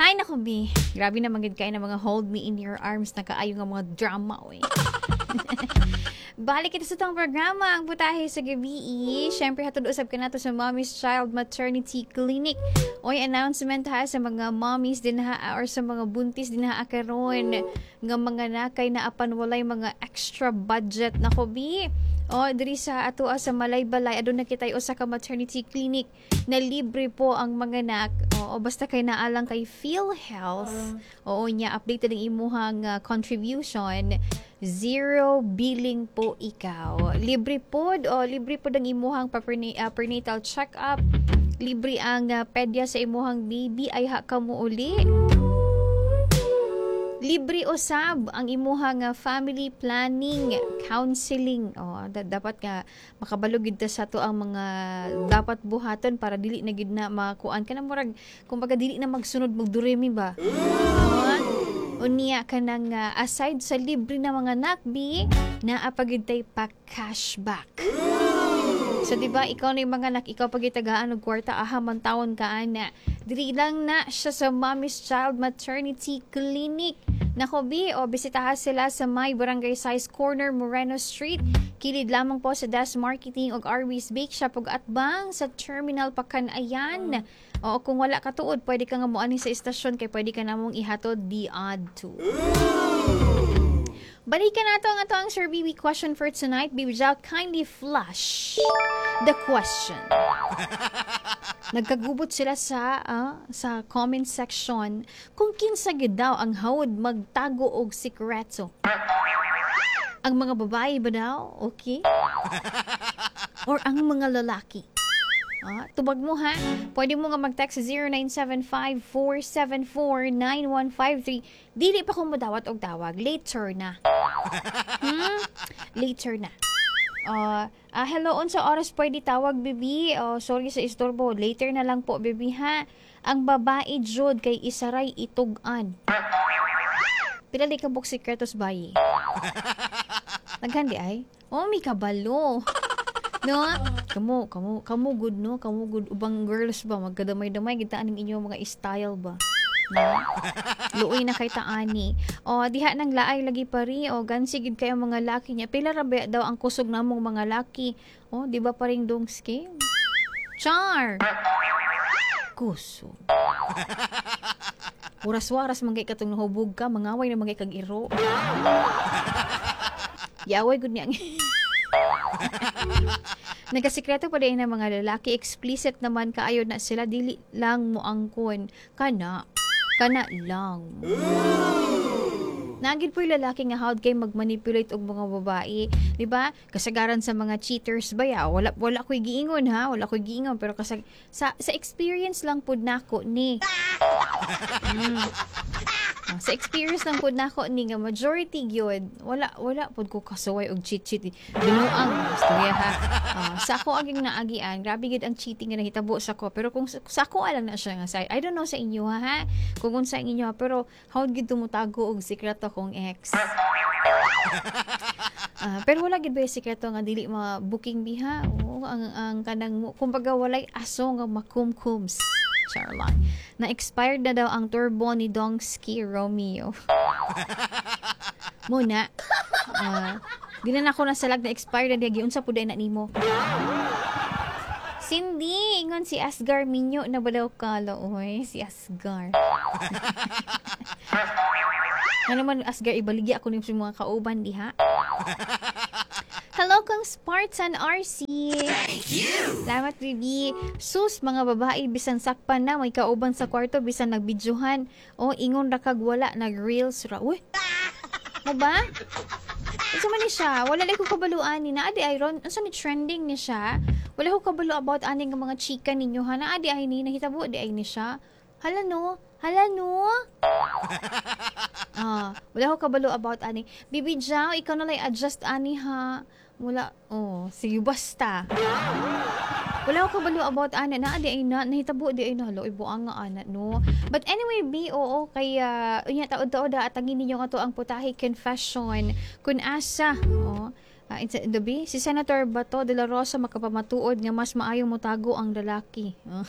Hay nako, bi. Grabe na magid kay na mga "Hold Me in Your Arms" na kaayo nga mga drama, oy. Balik kita sa atong programa, ang Putahe sa Gabi. Siyempre, hatod usab kanato sa Mommy's Child Maternity Clinic. Oy, announcement ha sa mga mommies din ha or sa mga buntis din ha karon nga mga nakay na apan walay mga extra budget, nako bi. O, diri sa ato sa Malaybalay, aduna kitay usa ka maternity clinic na libre po ang mga anak. Oo, basta kay naalang kay PhilHealth. Oo, nya updated ang imuhang contribution. Zero billing po ikaw. Libre pod o libre pod ang imuhang prenatal check-up. Libre ang pedya sa imuhang baby ay ha ka mo uli. Libre usab ang imuhang family planning counseling. Oh, dapat nga makabalo gid ta sa ato ang mga dapat buhaton para dili na gid na makuan kana, murag kumbaga dili na magsunod magduremi ba. Oh, unya kanang aside sa libre na mga nakbi, naa pa gid tay pa cashback. So di ba, ikaw na yung mga anak, ikaw pag itagaan og kwarta, aha man tawon ka ana. Diri lang na siya sa Mommy's Child Maternity Clinic. Nako bi, o bisitahan sila sa may Barangay Size Corner, Moreno Street. Kilid lamang po sa Das Marketing ug Arby's Bake Shop ug atbang sa Terminal Pacanayan. O kung wala ka tuod, pwede ka nga moani sa istasyon kay pwede ka namong ihatod di odd to. Balikan nato ang ato ang Sir BB question for tonight. Baby Jal, kindly flash the question. Nagkagubot sila sa comment section kung kinsa gid daw ang hawod magtago og sikreto. Ang mga babae ba daw? Okay? Or ang mga lalaki? Tubag mo ha. Pwede mo nga mag-text sa 0975-474-9153. Dili pa kung modawat og tawag. Later na. Later na. Hello, unsa oras pwede tawag, baby? Oh, sorry sa istorbo. Later na lang po, baby, ha? Ang babae jud kay isaray itug-an. Pila di ka buok sikretos, bayi? Naghandi ay? Oh, may kabalo. No? Kamo, kamo, kamo good, no? Kamo good. Ubang girls ba? Magkadamay-damay. Kita aning inyo mga style ba? No? Luoy na kay taani. O, diha nang laay lagi pari. O, gansi gid kayo mga laki niya. Pila ra ba daw ang kusog namong mga laki? O, di ba paring dongski? Char! Kusog. Waras-waras man kay katong nahubog ka, mangaway na man kay kag iro. Giaway gud niya. Nagasikreto pa din ang mga lalaki, explicit naman kaayo na sila, dili lang mo angkon. Kana, kana lang. Nagid po yung lalaki nga hawd kay magmanipulate og mga babae, di ba? Kasagaran sa mga cheaters ba ya? Wala wala ko'y giingon ha, wala ko'y giingon, pero kasag sa experience lang pud nako ni. Sa experience lang pud nako ni nga majority gyud, wala wala pud ko kasuway og cheat cheat. Binuang istorya ha. Sa ako aging naagian, grabe gyud ang cheating nga nahitabo sa ko. Pero kung sa ako lang na siya nga side. I don't know sa inyo ha, ha? Kung unsa ang inyo ha, pero how gyud tumutago og sikreto kong ex. Pero wala gid ba yung sikreto nga dili ma-booking biha? Oo, ang kanang kumbaga walay aso nga makumkums. Charlotte. Na-expired na daw ang turbo ni Dongski Romeo. Muna. Di na nako nasalag na expired na diya, giunsa pud na nimo. Cindy, ingon si Asgar, minyo na ba daw kala? Oy, si Asgar. Ano man Asgar, ibaligya ako nimo sa mga kauban diha. Hello kang Spartan RC. Thank you. Salamat, baby. Sus, mga babae, bisan sakpan na, may kauban sa kwarto, bisan nagbidyohan. O, ingon ra kag wala, nag-reels ra. Uy, mo ba? Unsa man ni siya? Wala lang ko kabalo ani. Naa di ay ron. Unsa ni trending ni siya? Wala ko kabalo about ani nga mga chika ninyo ha. Naa di ay ni nahitabo di ay ni siya. Hala no. Hala no. Wala ko kabalo about ani. Bibi Jao, ikaw na lang adjust ani ha. Wala, oh, sige basta. Wala ko kabalo about ana na di ay na nahitabo di ay na, hala, ibuang nga ana no. But anyway, B, oo, kay unya taod-taod atangin ninyo nga to ang Putahe confession kun asa oh. The B, si Senator Bato de la Rosa makapamatuod nga mas maayo motago ang lalaki. Oh.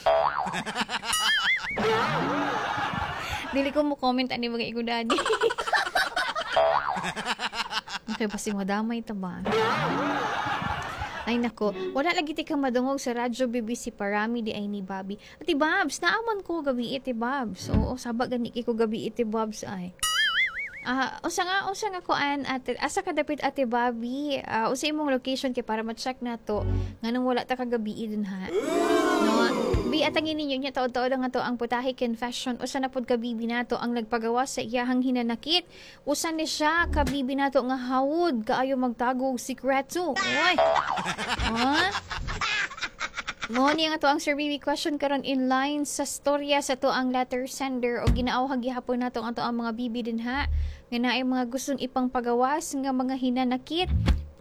Dili ko mo comment ani mga ingon ani. Okay, basig madamay ta ba? Ay nako, wala lagi ti ka madungog sa Radyo BBC Parami di ay ni Bobby. Ate Babs, naaman ko gabi, Ate Babs. Oo, saba gani ko gabi, Ate Babs, ay. Ah, usa nga kuan, ate, asa ka dapit, Ate Bobby? Ah, usa imong location kay para ma-check nato nganong wala ta kagabi din ha. No, bi atangin ninyo niya taod-taod ang ato ang Putahe Confession. Usa na pud ka bibi nato ang nagpagawa sa iyahang hinanakit. Usa ni siya ka bibi nato nga hawod kaayo magtago og sikreto. Oy. Ha? Mo ni ang ato ang Sir BB question karon in line sa storya sa to ang letter sender o ginaawhag gihapon nato ang ato ang mga bibi din ha nga naay mga gustong ipangpagawas nga mga hinanakit.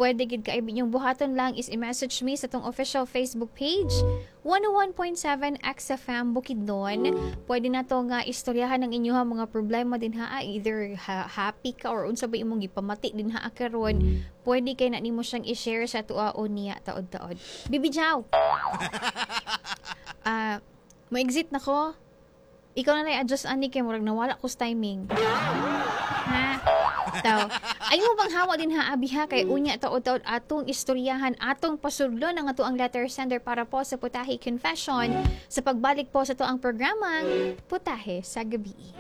Pwede gid kay inyong buhaton lang is i-message me sa tong official Facebook page, 101.7 XFM Bukidnon. Pwede na to nga istoryahan ang inyong mga problema din ha, either happy ka or unsa ba imong gipamati din ha karon. Pwede kay na nimo siyang i-share sa tuwa o niya taod-taod. Bibi Jaw. Ah, mo-exit na ko. Ikaw na lang adjust ani kay murag nawala ko sa timing. Ha? Taw. Ay mo bang hawa din ha, abi ha, kay unya taod-taod atong istoryahan, atong pasudlon ang ato ang letter sender para po sa Putahe Confession sa pagbalik po sa to ang programang Putahe sa Gabi.